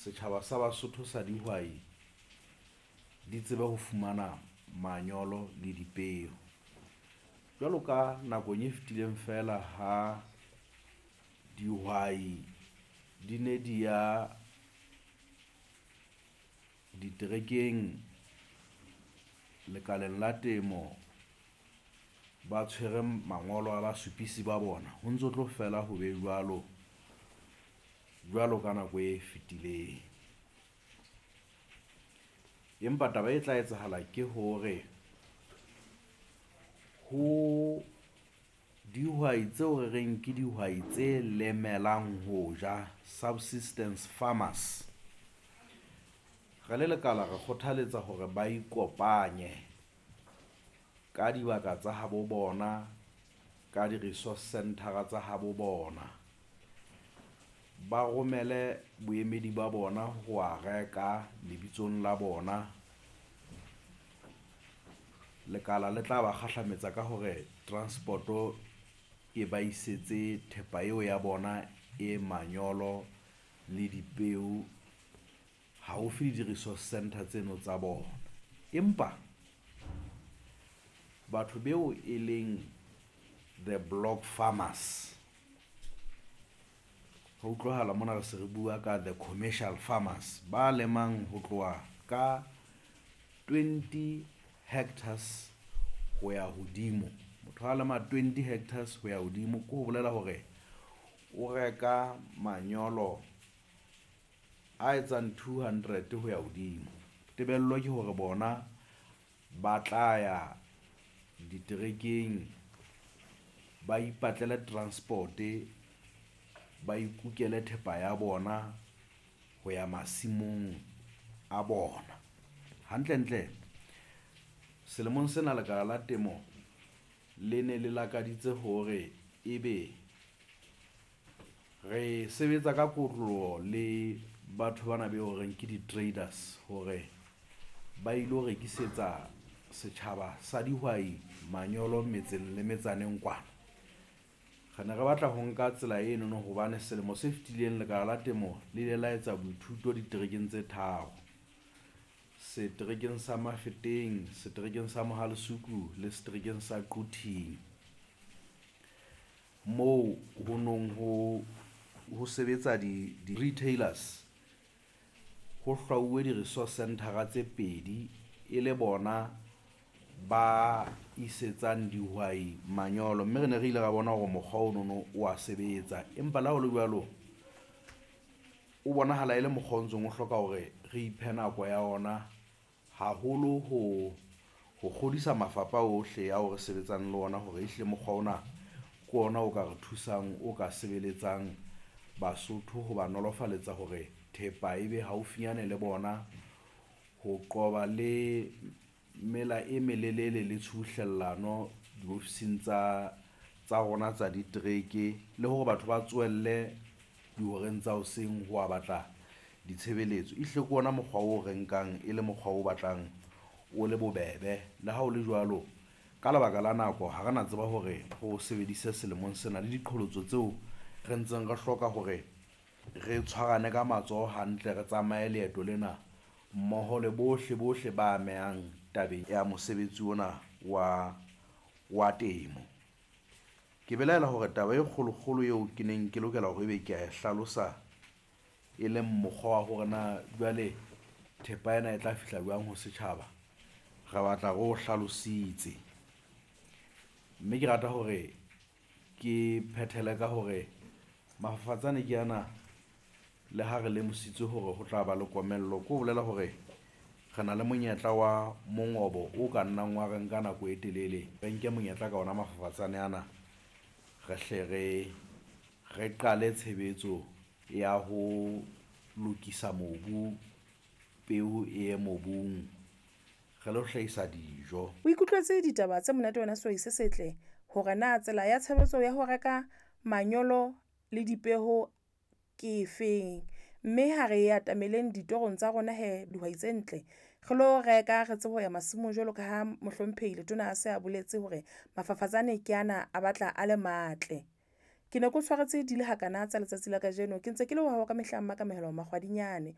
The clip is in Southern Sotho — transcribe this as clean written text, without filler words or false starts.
Setjhaba sa Basotho sa dihwai di tsebe ho fumana manyolo le dipeo. Jwalo ka nakong e fetileng feela ha dihwai di ne di ya diterekeng lekaleng la temo ba tshwere mangolo a basupisi ba bona ho ntso tlo fela ho be jwalo, jwalo ka nako e fetileng. Empa taba e tla etsahala ke hore ho dihwai tseo re reng ke dihwai tse lemelang ho ja subsistence farmers. Re le lekala re kgothaletsa hore ba ikopanye ka dibaka tsa habo bona, ka di-resource centre tsa habo bona. Ba romele boemedi ba bona ho wa reka lebitsong la bona. Lekala le tla ba kgahlametsa ka hore transport-o e ba isetse thepa eo ya bona e manyolo le dipeo haufi le di-resource centre tseno tsa bona. Empa batho beo e leng the block farmers ho utlwahala mona re se re bua ka the commercial farmers ba lemang ho tloha ka 20 hectares ho ya hodimo. Motho a lema 20 hectares ho ya hodimo ke ho bolela hore o reka manyolo a etsang 200 ho ya hodimo. Tebello ke hore bona ba tla ya diterekeng ba ipatlele transport-e, ba ikukele thepa ya bona ho ya masimong a bona. Hantle-ntle selemong sena lekala la temo le ne le lakaditse hore ebe re sebetsa ka kotloloho le batho bana be ho reng ke di-traders hore ba ilo rekisetsa setjhaba sa dihwai manyolo metseng le metsaneng kwana. Re ne re batla ho nka tsela eno no hobane selemo se fetileng lekala la temo le ile la etsa boithuto diterekeng tse tharo. Seterekeng sa Mafeteng, seterekeng sa Mohale's Hoek le seterekeng sa Quthing. Moo ho nong ho sebetsa di-retailers ho hlwauwe di-resource centre tse pedi e le bona ba isetsang dihwai manyolo, mme re ne re ile ra bona hore mokgwa ono no oa sebetsa. Empa le ha ho le jwalo o bonahala e le mokgwa o ntsong o hloka hore re iphe nako ya ona haholo ho kgodisa mafapha ohle ao re sebetsang le ona hore ehlile mokgwa ona ke ona o ka re thusang, o ka sebeletsang Basotho ho ba nolofaletsa hore thepa e be haufinyane le bona ho qoba le mela e melelele le tshubuhlellano diofising tsa rona tsa ditereke le hore batho ba tsohelle dihoreng tsa hoseng ho wa batla ditshebeletso. Ehlile ke ona mokgwa oo re nkang e le mokgwa o batlang o le bobebe. Le ha ho le jwalo, ka lebaka la nako ha re na tseba hore re o sebedise selemong sena le diqholotso tseo re ntseng re hloka hore re tshwarane ka matsoho hantle, re tsamaye leeto lena mmoho le bohle bohle ba amehang tabeng ya mosebetsi ona wa temo. Ke belaela hore taba e kgolo-kgolo eo ke neng ke lokela hore ebe kea e hlalosa, e leng mokgwa wa hore na jwale thepa ena e tla fihla jwang ho setjhaba, re batla re o hlalositse. Mme ke rata hore ke phethele ka hore mafafatsane ke ana le ha re lemositswe hore ho tla ba le komello ke ho bolela hore re na le monyetla wa mongobo o ka nnang wa re nka nako e telele. Re nke monyetla ka ona mafafatsane ana re hle re qale tshebetso ya ho lokisa mobu, peo e ye mobung re lo hlahisa dijo. O ikutlwetse ditaba tse monate wena sehwai se setle hore na tsela ya tshebetso ya ho reka manyolo le dipeho ke efeng. Mme ha re atameleng ditorong tsa rona hee dihwai tse ntle, re lo reka re tsebe ho ya masimong jwalo ka ha mohlomphehi letona a se a boletse hore mafafatsane ke ana a batla a le matle. Ke ne ke o tshwaretse di le hakana tsa letsatsi la kajeno, ke ntse ke le wa hao ka mehla Mmakamohelo Makgwadinyane.